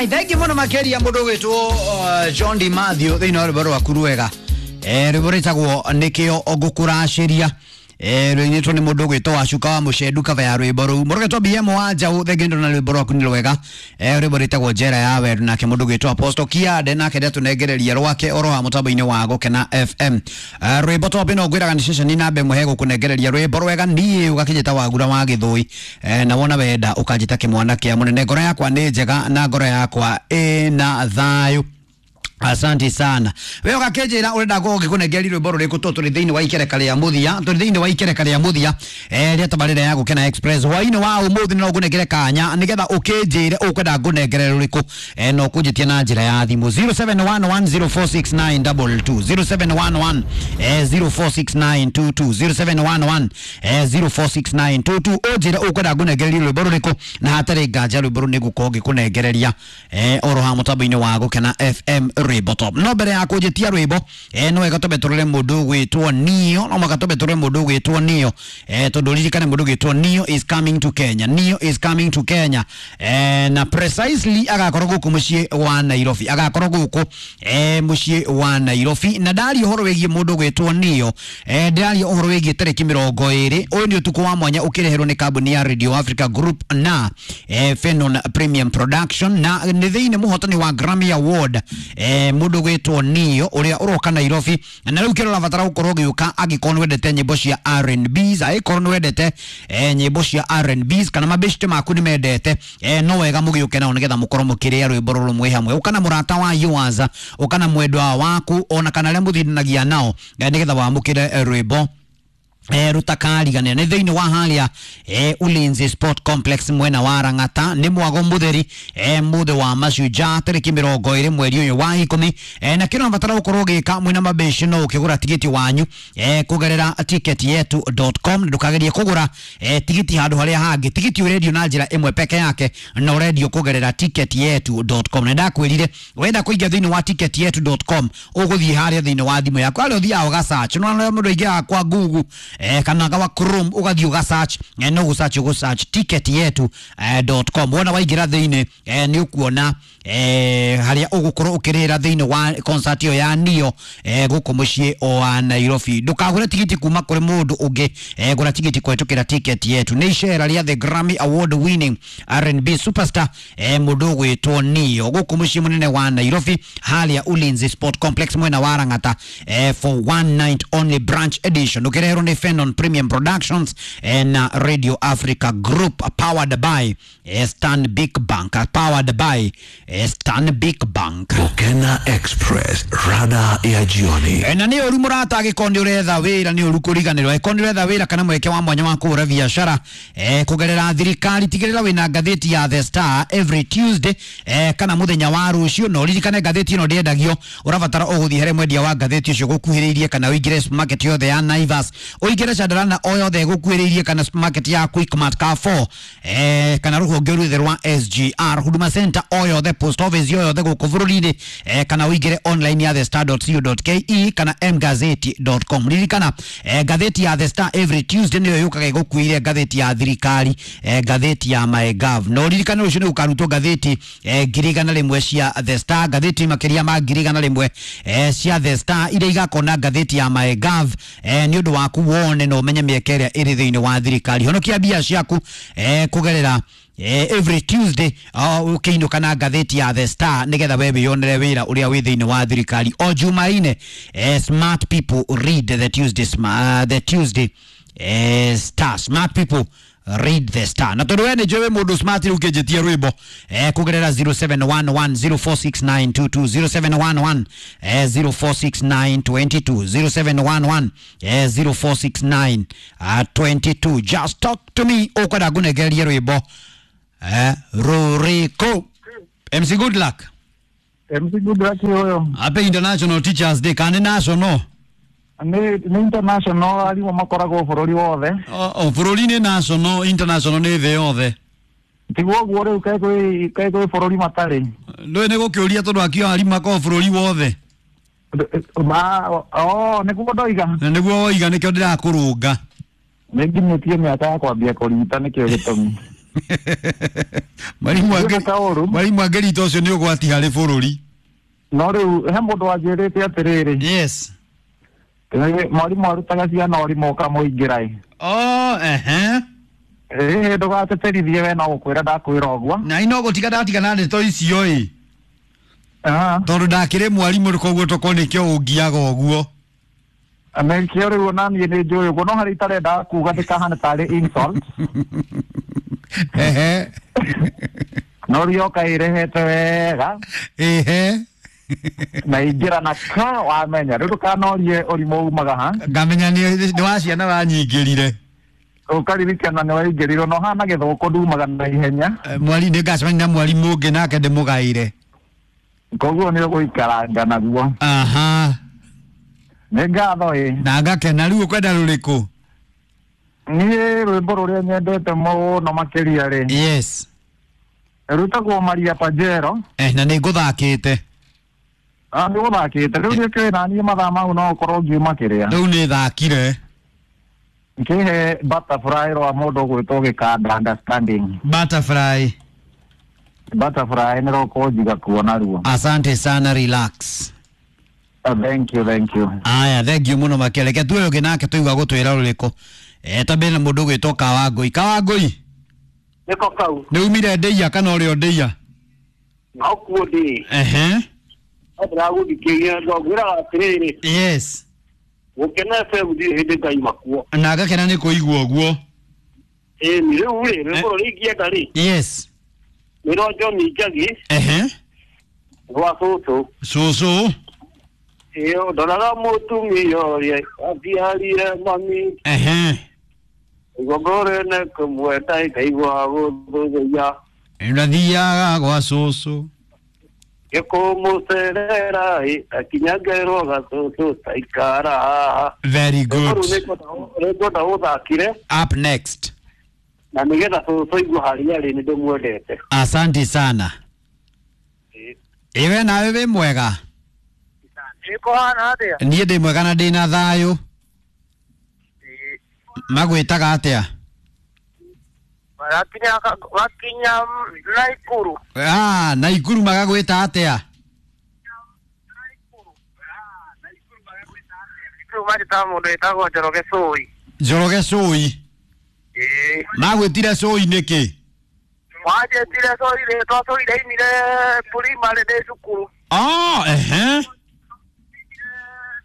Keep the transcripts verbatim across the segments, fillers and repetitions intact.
Ai, thank you muno makeria mundu gwitwo uh, John D Matthew thiini wa rwimbo rwaku rwega. Eh, rwimbo rwitagwo nikio ngukuraciria. Eh, rũinĩtwo nĩ mũndũ ũgwĩtwo Wacuka wa Mũcendu cover ya rwĩmbo rũu. Mũndũ ũgwĩtwo B M wa Njaũ thengi na rwĩmbo rwaku nĩ rwega. Eh, rwĩmbo rwĩtagwo Njera ya Wendo nake mũndũ ũgwĩtwo Apostle Kiande nake ndatũnengereria rwake oro wa mũtambo-inĩ wa Gũkena F M. Eh, rwĩmbo top ĩno ngwĩraga nĩ ceceni namba ĩmwe he gũkũnengereria rwĩmbo rwega niĩ ũgakĩnjĩta Wagura wa Gĩthũi. Eh, na wona wenda ũkanjĩta kĩmwana kĩa mũnene. Ngoro yakwa nĩ njega na ngoro yakwa ĩna thayũ. Asante sana. Wewe ugakenjera urenda go ngikunegeria rwimbo ruriku to turi thiini wa ikereka ria muthia, turi thiini wa ikereka ria muthia eh ria tabarira ya Gukena Express hwaini wa umuthi no ngunengere kanya nigetha ukinjire ukwenda ngunengere ruriku eh no kunjitie na njira ya thimu zero seven one one zero four six nine two two zero seven one one eh zero four six nine two two zero seven one one eh zero four six nine two two unjire ukwenda ngunengereria rwimbo ruriku na hatari nganja rwimbo rũ nĩngũkorwo ngĩkũnengereria eh oro ha mũtambo-inĩ wa Gukena F M rwimbo top. No mbere ya kũnjĩtia rwimbo eh no wega twambe tũrore mũndũ ũgwĩtwo Nio, no mwaka twambe tũrore mũndũ ũgwĩtwo Nio eh tondũ ririkane mũndũ ũgwĩtwo Nio is coming to Kenya. Nio is coming to Kenya eh na precisely agakorwo gũkũ mũciĩ wa Nairobi, agakorwo gũkũ eh mũciĩ wa Nairobi. Na ndaria ũhoro wĩgiĩ mũndũ ũgwĩtwo Nio eh ndĩraria ũhoro wĩgiĩ tarĩki mĩrongo ĩrĩ. Ũyũ nĩ ũtukũ wa mwanya ũkĩreherwo nĩ kambuni ya Radio Africa Group na eh Fenon Premium Production na nĩ thĩinĩ mũhotani wa Grammy Award eh mũndũ gwĩtwo Nio ũrĩa ũroka Nairobi. Na rĩu kĩrĩa ũrabatara gũkorwo ũgĩũka angĩkorwo nĩwendete nyĩmbo cia R and Bs, angĩkorwo nĩwendete eh nyĩmbo cia R and Bs kana mabeshte maku nĩmendete eh no wega mũgĩũke nao nĩgetha mũkorwo mũkĩrĩa rwĩmbo rũrũ mwĩ hamwe. Ũka na mũrata wa yours, ũka na mwendwa waku ona kana arĩa mũthindanagia nao nĩgetha wamũkĩre rwĩmbo eh rutakarigania. Nĩ thĩinĩ wa harĩa eh Ulinzi Sport Complex mwena wa Rang'ata, nĩ mwago mũtheri eh mũthĩ wa mashujaa tarĩki mĩrongo ĩrĩ mweri ũyũ wa ikũmi. eh na kĩrĩa ũrabatara gũkorwo ũgĩka mwĩna mabeshi no ũkĩgũra tigiti wanyu eh kũgerera ticket yetu dot com. Ndũkagerie kũgũra eh tigiti handũ harĩa hangĩ, tigiti ũrendio na njĩra ĩmwe peke yake na ũrendio kũgerera ticket yetu dot com. Na ndakwĩrire wenda kũingĩra thĩinĩ wa ticket yetu dot com ũgũthiĩ harĩa thĩinĩ wa thimũ yaku harĩa ũthiaga ũga search, no mũndũ aingĩraga kwa Google eh kana gawa Chrome ugathiĩ uga search eh, no gũ search ũgũ search ticket yetu dot com. Wona waingĩra thĩinĩ eh, nĩ ũkuona eh harĩa ũgũkorwo ũkĩrĩra thĩinĩ wa concert ĩyo ya Nio eh gũkũ mũciĩ wa Nairobi. Ndũkagũre tigiti kuma kũrĩ mũndũ ũngĩ, eh gũra tigiti kũhetũkĩra ticket yetu. Nĩ icera rĩa the Grammy Award winning R and B superstar eh mũndũ ũgwĩtwo Nio gũkũ mũciĩ mũnene wa Nairobi harĩa Ulinzi Sport Complex mwena wa Rang'ata eh for one night only branch edition ũkĩreherwo nĩ Fenon Premium Productions eh, na Radio Africa Group powered by eh, Stanbic Bank, powered by eh, Stanbic Bank. Gukena Express, rada ya jioni. Eh, na nĩ ũru mũrata angĩkorwo nĩ ũretha wĩra, nĩ ũru kũriganĩrwo. Angĩkorwo nĩ ũretha wĩra kana mweke wa mwanya wa kũhũra biacara eh, kũgerera thirikari, tigĩrĩra wĩna ngathĩti ya The Star every Tuesday eh, kana mũthenya wa rũciũ. Na ũririkane ngathĩti ĩno ndĩendagio, ũrabatara ũgũthiĩ harĩ mwendia wa ngathĩti ũcio gũkuhĩrĩirie kana ũingĩre supermarket yothe ya Naivas, ũingĩre Chandarana o yothe gũkuhĩrĩirie kana supermarket ya Quickmart Carrefour eh, kana rũhonge rwothe rwa S G R, Huduma Center o yothe, post office o yothe gũkũ bũrũri-inĩ eh, kana ũingĩre online ya the star dot co dot ke kana m gazeti dot com. Ririkana eh, ngathĩti ya The Star every Tuesday nĩyo yũkaga ĩgũkuĩire ngathĩti ya thirikari eh, ngathĩti ya MyGov. Na ũririkane rũciũ nĩ gũkarutwo ngathĩti eh, ngiri igana rĩmwe cia The Star, ngathĩti makĩria ma ngiri igana rĩmwe eh, cia The Star iria igakorwo na ngathĩti ya MyGov eh, nĩ ũndũ waku wone na ũmenye mĩeke ĩrĩa ĩrĩ thĩinĩ wa thirikari. Honokia mbia ciaku eh, kũgerera eh, every Tuesday ũkĩinũka na ngathĩti ya The Star nĩgetha we wĩyonere wĩra ũrĩa wĩ thĩinĩ wa thirikari. O Jumaine eh, smart people read the Tuesday, uh, the Tuesday eh, Star. Smart people read the Star. Na tondũ we nĩ njũĩ wĩ mũndũ smart rĩu ũkĩnjĩtia rwĩmbo eh, kũgerera zero seven one one zero four six nine two two zero seven one one eh, zero four six nine two two zero seven one one eh, zero four six nine two two. Just talk to me ũkwenda ngũnengererie rwĩmbo eh, rũrĩkũ? M C Good Luck. M C Good Luck ũyũ. Happy International Teachers Day kana nĩ national? Nĩ nĩ international, arimũ makoragwo bũrũri wothe. O bũrũri nĩ national, international nĩ thĩ yothe. Tiguo ũguo rĩu kaĩ kwĩ kaĩ kwĩ bũrũri matarĩ. Ndũĩ nĩ gũkĩũria tondũ akio arimũ makoragwo bũrũri wothe. Ma oh nĩguo ndoiga. Na nĩguo woiga nĩkĩo ndĩrakũrũnga. Nĩ nginyĩtie mĩaka ya kwambia kũrigita nĩkĩo gĩtũmi. Mwarimu Ndiũĩ ta ũru. Mwarimu Angelita ũcio nĩ ũgwati harĩ bũrũri. No rĩu he mũndũ wanjĩrĩte atĩrĩrĩ, Yes. eh, mwarimũ arutaga ciana ũrimũ ũkamũingĩra ĩ. Oh, ehe. Ĩĩ, ndũgateterithie we, no gũkwĩra ndakwĩra ũguo. Na ino gũtiga ndatiga na ndeto icio ĩ. Ah, Tondũ ndakĩrĩ mwarimũ, koguo tokorwo nĩkĩo ũngiaga ũguo. Nĩkĩo rĩu ona niĩ nĩ njũĩ ũguo, no harĩa itarenda kuga ndĩkahane tarĩ insult. Ehe. No rĩu yoka ĩrehete wega Ehe. na ingĩra na ka wamenya rĩu ndũkanorie ũrimũ umaga ha. Ngamenya nĩ nĩ wa ciana wanyingĩrire. Ũkaririkana nĩ waingĩrirwo no hana gĩthũkũ ndumaga na ihenya. Eh, mwari nĩ ngacemania na mwarimũ ũngĩ nake ndĩmũgaĩre. Koguo nĩ ũgũikaranga naguo. Aha. Nĩ ngatho ĩ. Na ngakena. Rĩu ũkwenda rũrĩkũ? Niĩ rwĩmbo rũrĩa nyendete mũno makĩria rĩ, Yes. rwĩtagwo Maria Pajero. Eh, na nĩ ngũthakĩte. Ah, nĩ gũthakĩte rĩu nĩkĩũĩ na niĩ mathaa mau no ũkorwo ngiuma kĩrĩa. Rĩu nĩ thakire. Nkĩhe Butterfly rwa mũndũ ũgwĩtwo Gĩkanda Understanding. Butterfly. Butterfly nĩ rũkũnjiga kuona ruo. Asante sana, relax. Ah, thank you, thank you. Aya, thank you mũno makĩria. Reke tuoe ũngĩ nake tũigua gũtwĩra rũrĩkũ. Eh, tambĩ na mũndũ ũgwĩtwo Kawangũi. Kawangũi, Nĩko kau. Nĩ umire ndĩia kana ũrĩ o ndĩia? No kuo ndĩ. Ehe. No ndĩragũthikĩria ngwĩraga atĩrĩrĩ, Yes. Gũkena F M ndirĩ hĩndĩ ngaima kuo. Na ngakena nĩ kũigua ũguo. Ĩni rĩu rĩ, rwĩmbo rũrĩa ingĩenda rĩ, Yes. nĩ rwa John Njagi Ehe. rwa cũcũ. Cũcũ. Ĩyo ndoraga mũtumia ũrĩa atiarire mami, Ehe. igongorene kũmwenda ikaigua gũthũthũia. Ndathiaga gwa cũcũ. Gĩkũmũcerera ĩ akinya ngerwo gacũcũ taikara haha. Very Rwĩmbo good. rũu nĩngwenda ũthakire Up next. na nĩgetha cũcũ aigue harĩa arĩ nĩ ndĩmwendete. Asante sana. Iwe nawe wĩ mwega? Ĩkũhana atĩa? Niĩ ndĩ mwega na ndĩ na thayũ. Magwĩtaga atĩa? Wakinya wakinya Naikuru. Ah, Naikuru magagwĩta atĩa? Rĩu manjĩtaga mũndũ wĩtagwo Njoroge Cũi. Njoroge Cũi. Ĩĩ. Magwĩtire Cũi nĩkĩ? Wanjĩtire Cũi rĩtwa Cũi ndaimire primary ndĩ cukuru. Oh, ehe.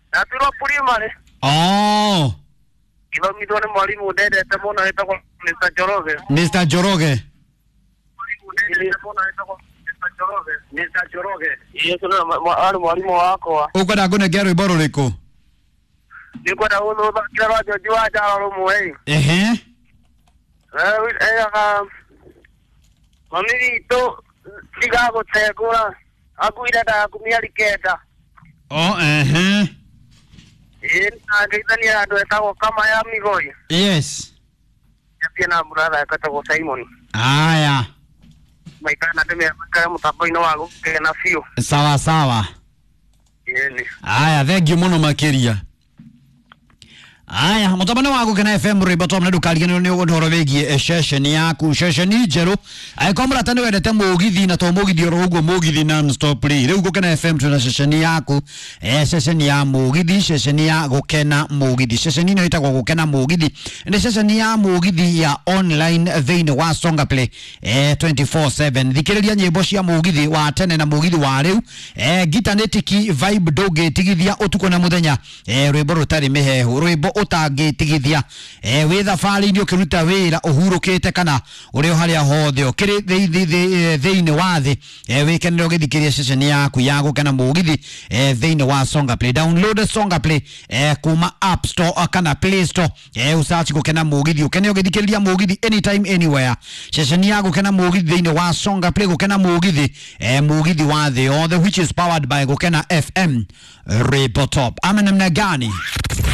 Ndaturwo primary. Oh, Ngĩthomithwo nĩ mwarimũ ndendete mũno wĩtagwo Mister Njoroge. Mister Njoroge. Mister Njoroge. Ĩĩ, ũcio nĩwe arĩ mwarimũ wakwa. Ũkwenda ngũnengere rwĩmbo rũrĩkũ? Nĩngwenda gũthakĩra rwa George wa Njaro rũmwe. Ehe. Eraga mami witũ ndigagũtengũra akuire ndaku mĩeri kenda. Oh, ehe. Ĩĩ, na ngeithania andũ etagwo Kamaya Migoi. Yes. Njatie na brother etagwo Simon. Aya. Maikara na ndĩmekare mũtambo-inĩ wa gũkena biũ. Sawa sawa. Ĩĩ. Aya, thank you mũno makĩria. Aya, mũtambo wa Gũkena F M, rwĩmbo tom na ndũkariganĩrwo nĩ ũhoro wĩgiĩ ceceni yaku, ceceni njerũ. Angĩkorwo mũrata nĩ wendete mũgithi na to mũgithi oro ũguo, mũgithi non stop rĩ, rĩu Gũkena F M twĩna ceceni yaku, eh, ceceni ya mũgithi, ceceni ya Gũkena mũgithi. Ceceni ĩno ĩtagwo Gũkena mũgithi, nĩ ceceni ya mũgithi ya online thĩinĩ wa Songa Play eh, twenty-four seven. Thikĩrĩria nyĩmbo cia mũgithi wa tene na mũgithi wa rĩu, eh, ngita nĩ tiki vibe ndũngĩtigithia ũtukũ na mũthenya, eh, rwĩmbo rũtarĩ mĩhehu, rwĩmbo ũtangĩtigithia, eh, wĩ thabarĩ-inĩ, ũkĩruta wĩra, ũhurũkĩte, kana ũrĩ o harĩa hothe ũkĩrĩ thĩinĩ wa thĩ, eh, wĩkenere ũgĩthikĩrĩria ceceni yaku ya Gũkena mũgithi eh, thĩinĩ wa Songa Play. Download Songa Play eh, kuma App Store kana Play Store, eh, usearch Gũkena mũgithi, ũkene ũgĩthikĩrĩria mũgithi anytime anywhere. Ceceni ya Gũkena mũgithi thĩinĩ wa Songa Play, Gũkena mũgithi, eh, mũgithi wa thĩ yothe, which is powered by Gũkena F M. Rwĩmbo top ama namna gani?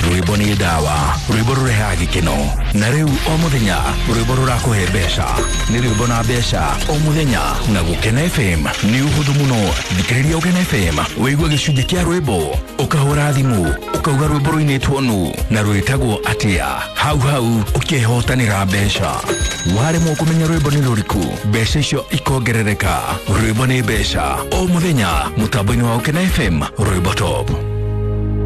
Rwĩmbo nĩ dawa. ndawa, rwĩmbo rũrehaga gĩkeno, na rĩu o mũthenya rwĩmbo rũrakũhe mbeca. Nĩ rwĩmbo na mbeca o mũthenya na Gũkena F M. Nĩ ũhũthũ mũno, thikĩrĩria Ũkena F M wĩigue gĩcunjĩ kĩa rwĩmbo, ũkahũra thimũ ũkauga rwĩmbo rũinĩtwo nũ na rwĩtagwo atĩa, hau hau ũkehotanĩra mbeca. Waremwo kũmenya rwĩmbo nĩ rũrĩkũ, mbeca icio ikongerereka. Rwĩmbo nĩ mbeca o mũthenya mũtambo-inĩ wa Ũkena F M, rwĩmbo top.